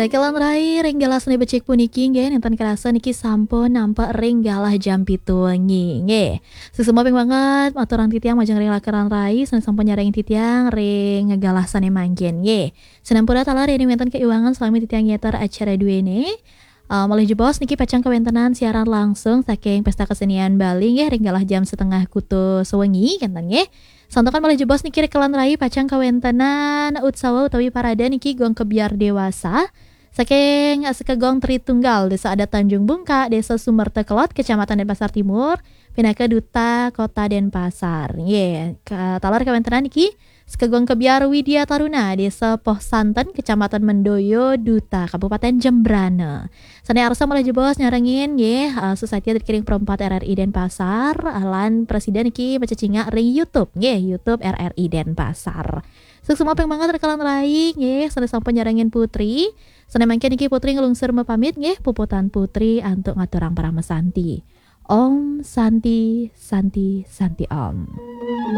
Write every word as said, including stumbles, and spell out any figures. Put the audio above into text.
Rekelan rai ring galah sane becik puniki nggih, nenten kerasa niki sampun nampak ring galah jam pitu wengi nggih. Suksma ping banget aturang titiang majeng ring rekelan rai sane sampun nyarengin titiang ring galah sane mangkin nggih. Sinampura taler yen wenten kaiwangan salami titiang ngeter acara duene. Uh, malih jebos niki pacang kawentenan siaran langsung saking Pesta Kesenian Bali nggih ring galah jam setengah kutus wengi kenten nggih. Santukan malih jebos niki rekelan rai pacang kawentenan utsawa utawi parade niki gong kebyar dewasa saking Sekegong Tritunggal, Desa Adat Tanjung Bungka, Desa Sumerta Kelod, Kecamatan Denpasar Timur, pinaka Duta Kota Denpasar. Nggih, ka-, taler kawentenan niki Sekegong Kebyar Widya Taruna, Desa Poh Santen, Kecamatan Mendoyo, Duta Kabupaten Jembrana. Sane arsa malih jebos nyarengin nggih, uh, Society Adat Kiring Perempat R R I Denpasar, uh, lan presida niki macecingak ring YouTube nggih, YouTube R R I Denpasar. Suksma ping banget rekelan rai nggih, sane sampun nyarengin Putri. Sane mangkin niki Putri nglungsur mapamit nggih, puputang Putri antuk ngaturang parama santi. Om Santi, Santi, Santi Om.